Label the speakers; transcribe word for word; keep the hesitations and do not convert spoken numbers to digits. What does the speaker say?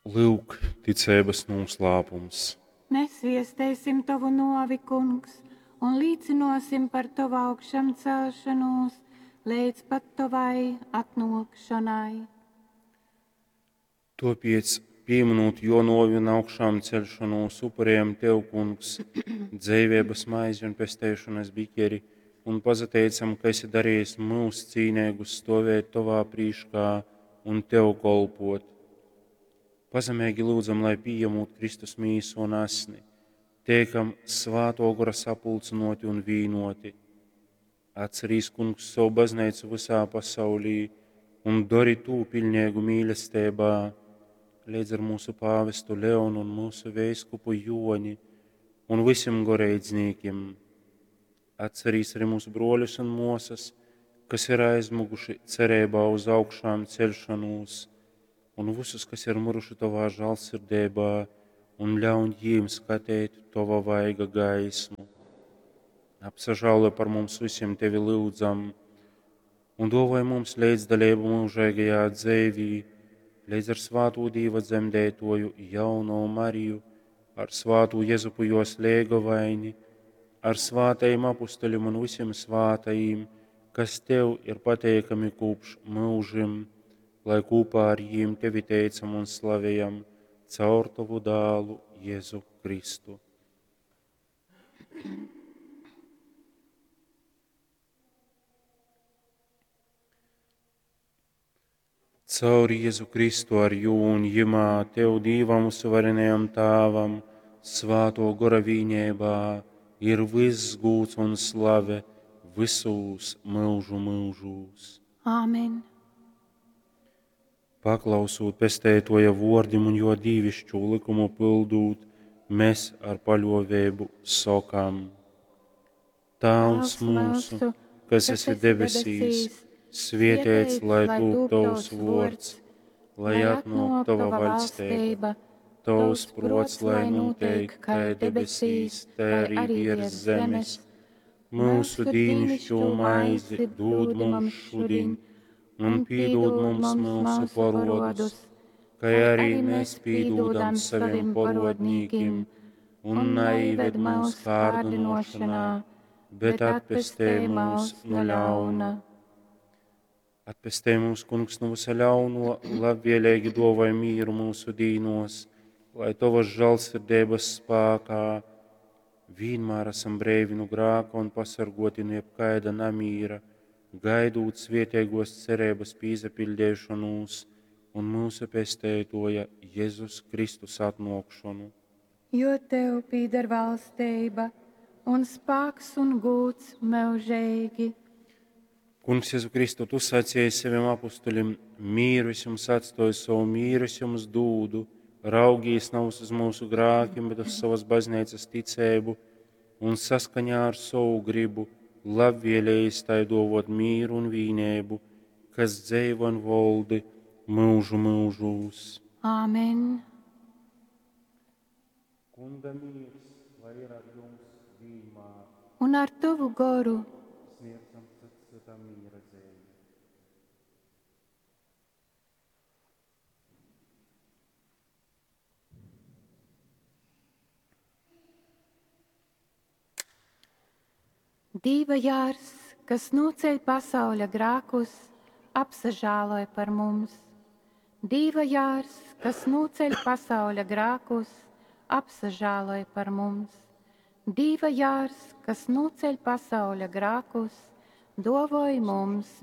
Speaker 1: Lyuk, ticeibas nūslāpums.
Speaker 2: Mes viesteisim tovu nōvi, Kungs, un līcynōsim par tovu augšamceļšonūs leidz pat tovai atnōkšonai.
Speaker 1: Tōpēc, pīmynūt jō nōvi un augšāmceļšonūs, upurējam Tev, Kungs, dzeiveibas maizi un pesteišonas bikeri, un pasateicam, ka esi darījis mūs cīneigus stovēt Tovā prīškā un Tev kolpot. Pazemeigi lyudzam, lai pījemūt Kristus mīsu un asni, teikam Svātō Gora sapulcynōti un vīnōti. Atcerīs, Kungs, savu baznīcu visā pasaulī un dori tū piļneigu mīlestībā, leidz ar mūsu pāvestu Leonu un mūsu veiskupu Joni un visiem goreidznīkim. Atcerīs arī mūsu broļus un mosas, kas ir aizmuguši cerībā uz augšām celšanos, un visus, kas ir miruši Tavā žālsirdībā, un ļauj jīm skatīt Tava vaiga gaismu. Apsažālo par mums visiem Tevi lūdzam, un dāvāj mums līdzdalību mūžīgajā dzīvī, līdz ar svāto Dīva dzemdētoju jauno Mariju, ar svāto Jezupu jos lēgavaini, ar svātajiem apustuļiem un visiem svātajiem, kas Tev ir pateikami kopš mūžim, lai kopā ar jiem Tevi teicam un slavējam caur Tavu dālu Jēzu Kristu. Caur Jēzu Kristu ar jū un jimā Tev Dīvam suverenajam Tāvam, svāto gora vīnībā, ir viss gūds un slave visūs mūžu mūžūs.
Speaker 2: Āmen.
Speaker 1: Paklausūt pestētoja vordim un jo dīvišķo likumu pildūt, mēs ar paļovēbu sokam. Tāvs mūsu, kas esi debesīs, svietēts, lai tūp tavs vords, lai atnāk tava vaļstība, tavs prots, lai notiek kā debesīs, tā arī virs zemes. Mūsu dīnišķo maizi dod mums šodien, un piedod mums mūsu parodus, kā arī mēs piedodam saviem parodnīkiem, un neived mūs kārdinošanā, bet atpestē mūs no ļauna. Atpestē mūs, Kungs, no visa ļauno, labvēlīgi dāvāj mieru mūsu dīnos, lai tavas žēlsirdības spēkā vienmēr esam brīvi no grāka un pasargoti no jebkaida namīra, gaidot svietēgos cerības pīzapildīšanos un mūsu pestētoja Jēzus Kristus atnākšanu.
Speaker 2: Jo tev pīder valstība un spēks un gūts mūžīgi.
Speaker 1: Kungs, Jēzu Kristu, tu sacīji saviem apustuļiem, mīru es jums atstoju, savu mīru es jums dūdu, raugīs nav uz mūsu grākiem, bet uz savas baznīcas ticēbu un saskaņā ar savu gribu, labvēlējis tai dovot mīru un vīnēbu, kas dzeivo un voldi mūžu mūžūs.
Speaker 2: Āmen.
Speaker 1: Kunga mīrs, lai ir ar jums vienmēr.
Speaker 2: Un ar tavu goru.
Speaker 1: Sniedzam cits citam miera dzīvi.
Speaker 2: Dīva jārs, kas noceļ pasauļa grākus, apsažāloj par mums. Dīva jārs, kas noceļ pasauļa grākus, apsažāloj par mums. Dīva jārs, kas noceļ pasauļa grākus, dovoj mums